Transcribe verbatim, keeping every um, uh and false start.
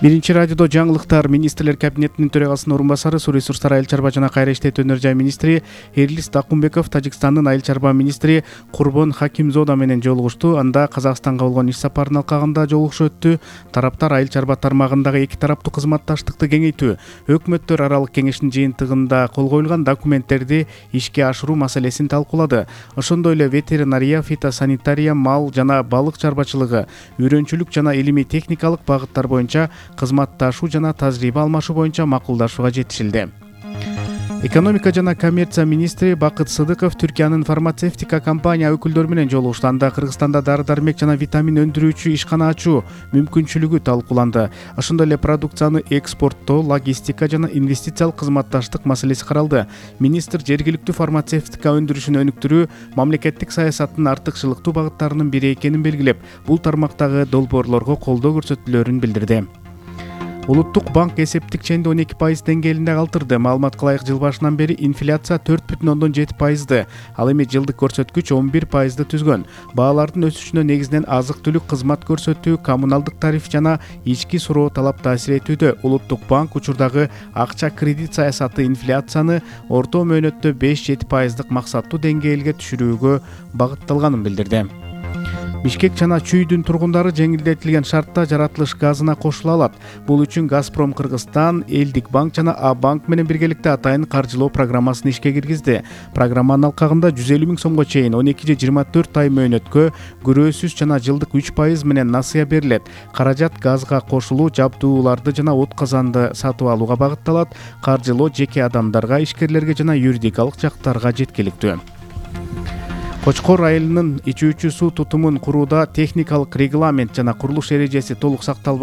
Биринчи радиодо жаңылыктар. Министрлер кабинетинин төрагасынын орун басары, суу ресурстары, айыл чарба жана кайра иштетүү өнөр жай министри Эрлис Дакумбеков Тажикстандын айыл чарба министри Курбон Хакимзода менен жолугушту. Анда Казакстанга болгон иш сапарынын алкагында жолугушуу өттү. Тараптар айыл чарба тармагындагы эки тараптуу кызматташтыкты кеңейтүү, өкмөттөр аралык кеңештин жыйынтыгында кол коюлган документтерди ишке ашыруу маселесин талкуулады. Ошондой эле ветеринария, фитосанитария, мал жана балык чарбачылыгы, үйрөнчүлүк жана илимий техникалык багыттар боюнча кызматташуу жана тажрыйба алмашуу боюнча макулдашууга жетишилди. Экономика жана коммерция министри Бакыт Сыдыков Түркиянын фармацевтика компания өкүлдөрү менен жолугушту. Анда Кыргызстанда дары-дармек жана витамин өндүрүүчү ишкана ачуу мүмкүнчүлүгү талкууланды. Ошондой эле продукцияны экспорттоо, логистика жана инвестициялык кызматташтык маселеси каралды. Министр жергиликтүү фармацевтика өндүрүшүн өнүктүрүү мамлекеттик саясаттын артыкчылыктуу багыттарынын бири экенин белгилеп, бул тармактагы долбоорлорго колдоо көрсөтүлөөрүн билдирди. Улуттук банк эсептик ченди он эки пайыз деңгээлинде калтырды. Маалыматка ылайык, жыл башынан бери инфляция төрт бүтүн ондон жети пайызды, ал эми жылдык көрсөткүч он бир пайызды түзгөн. Баалардын өсүшүнө негизинен азык-түлүк, кызмат көрсөтүү, коммуналдык тариф жана ички суроо талап таасир этүүдө. Улуттук банк учурдагы акча кредит саясаты инфляцияны орто мөөнөттө беш жети пайыздык максаттуу деңгээлге түшүрүүгө багытталганын билдирди. Бишкек жана Чүйдүн тургундары жеңилдетилген шартта жаратылыш газына кошула алат. Бул үчүн Газпром Кыргызстан, Элдик банк жана А банк менен биргеликте атайын каржылоо программасын ишке киргизди. Программанын алкагында жүз элүү миң сомго чейин он эки же жыйырма төрт ай мөөнөткө күрөөсүз жана жылдык үч пайыз менен насыя берилет. Каражат газга кошулуу, жабдууларды жана от казанды сатып алууга багытталат. Каржылоо жеке адамдарга, ишкерлерге жана юридикалык жактарга жеткиликтүү. Кочкор айылынын ичүүчү суу тутумун курууда техникалык регламент жана курулуш эрежеси толук сакталбады.